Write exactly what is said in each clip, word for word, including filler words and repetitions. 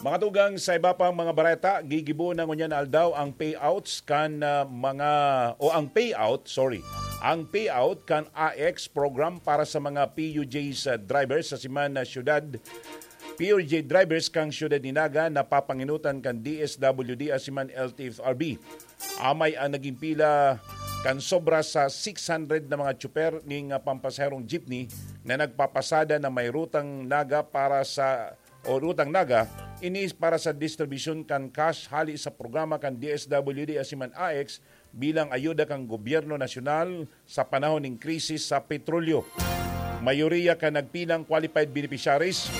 Mga tugang, sa iba pang mga bareta, gigibo na ngunyan na aldaw ang payouts kan, ah, mga, o ang payout, sorry, ang payout kan A X program para sa mga P U Js, ah, drivers sa siman na syudad, P U J drivers kan syudad ni Naga na papanginutan kan D S W D asin man L T F R B. Amay ang naging pila kan sobra sa six hundred na mga tsuper ning, ah, pampasaherong jeepney na nagpapasada na may rutang Naga para sa o rutang Naga, ini para sa distribusyon kan cash hali sa programa kan D S W D asin man A X bilang ayuda kan gobyerno nasyonal sa panahon ning krisis sa petrolyo. Mayoriya kan nagpilang qualified beneficiaries,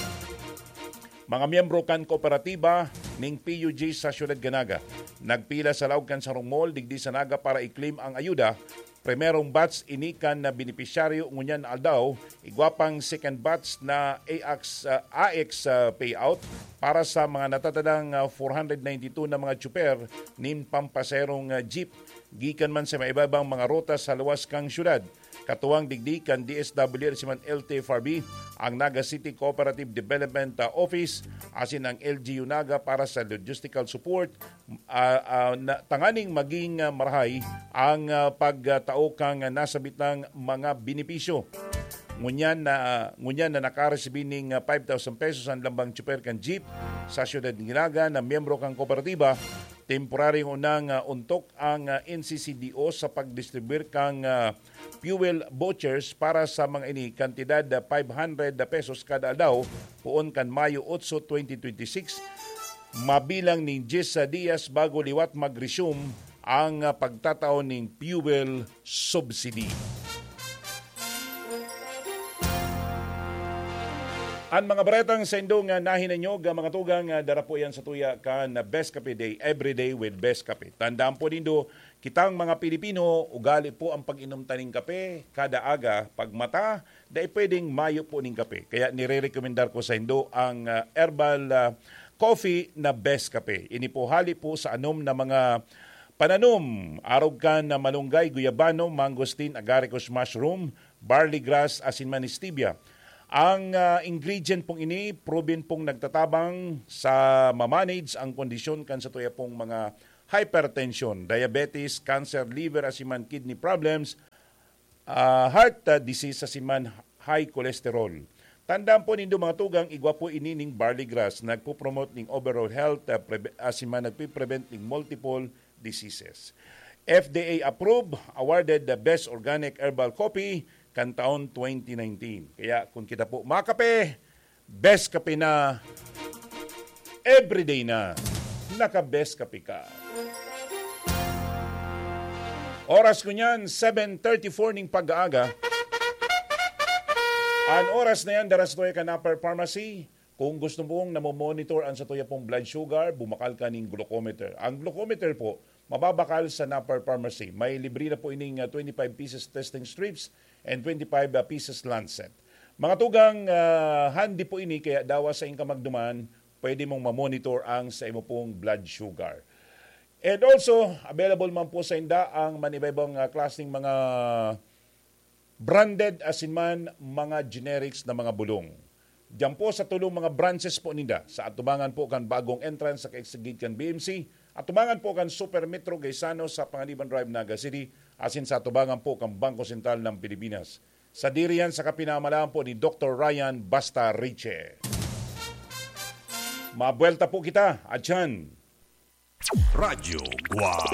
mga miyembro kan kooperatiba ning P U G sa Siyudad kan Naga. Nagpila sa laog kan sarong mall digdi sa Naga para i-claim ang ayuda. Primerong batch ini kan na benepisyaryo ngunyan na aldaw, igwa pang second batch na A X, ah, A X, ah, payout para sa mga natatadang, ah, four hundred ninety-two na mga tsuper nin pampasaherong, ah, jeep gikan man sa maiba-ibang mga ruta sa luwas kan syudad. Katuwang digdi kan D S W asin man L T F R B, ang Naga City Cooperative Development, ah, Office asin ang L G U Naga para sa logistical support, ah, ah, na, tanganing maging, ah, marahay ang, ah, pagtao kan nasabitang mga benepisyo. Ngunyan na, ngunyan na nakaresibi ning, ah, five thousand pesos ang lambang tsuper kan jeep sa Siyudad ni Naga na miyembro kan kooperatiba, temporaryong unang, ah, ontok ang, ah, N C C D O sa pagdistribuyar kan, ah, fuel vouchers para sa mga ini, kantidad na five hundred pesos kada aldaw, poon kan Mayo otso, twenty twenty-six, mabilang nin dyes na diyas bago liwat mag-resume ang, ah, pagtatao nin fuel subsidy. An mga baretang saindo nga nahinanyog, ah, mga tugang, ah, dara po yan sa tuya kan Best Cafe Day, Everyday with Best Cafe. Tandaan po nindo, kitang mga Pilipino, ugali po ang pag-inom ta ning kape kada aga, pagmata, dai pwedeng mayo po ning kape. Kaya nirerekomendar ko saindo ang, ah, herbal, ah, coffee na Best Cafe. Ini po hali po sa anom na mga pananom, arog kan na malunggay, guyabano, mangosteen, agaricus mushroom, barley grass, asin man stevia. Ang, ah, ingredient pong ini, proven pong nagtatabang sa ma-manage ang kondisyon kan satuya pong mga hypertension, diabetes, cancer, liver, asin man kidney problems, ah, heart, ah, disease, asin man high cholesterol. Tandaan po nindo, mga tugang, igwa po ini ning barley grass, nagpo-promote ning overall health, ah, preve-, asin man nagpiprevent ning multiple diseases. F D A approved, awarded the best organic herbal coffee kan taon twenty nineteen. Kaya kung kita po makape, best kape na, everyday na, naka-best kape ka. Oras ko niyan, seven thirty-four ning pag-aaga. An oras na yan, dara sa tuya kan Upper Pharmacy. Kung gusto mong namomonitor ang satuya pong blood sugar, bumakal ka ning glucometer. Ang glucometer po, mababakal sa Napper Pharmacy. May libre na po ining, ah, twenty-five pieces testing strips and twenty-five, ah, pieces lancet. Mga tugang, ah, handy po ini, kaya dawa sa inka magduman, pwede mong mamonitor ang sa imo pong blood sugar. And also, available man po sa inda ang manibaybang, ah, klaseng mga branded asin man mga generics na mga bulong. Diyan po sa tulong mga branches po ninda, sa atubangan po kan bagong entrance sa kaigsigid kan B M C, atubangan po kan Super Metro Gaisano sa Panganiban Drive, Naga City, asin sa atubangan po kan Bangko Sentral ng Pilipinas. Sadiri yan sa kapinamalaan po ni Doktor Ryan Basta Riche. Mabuelta po kita, atyan. Radyo Guwang.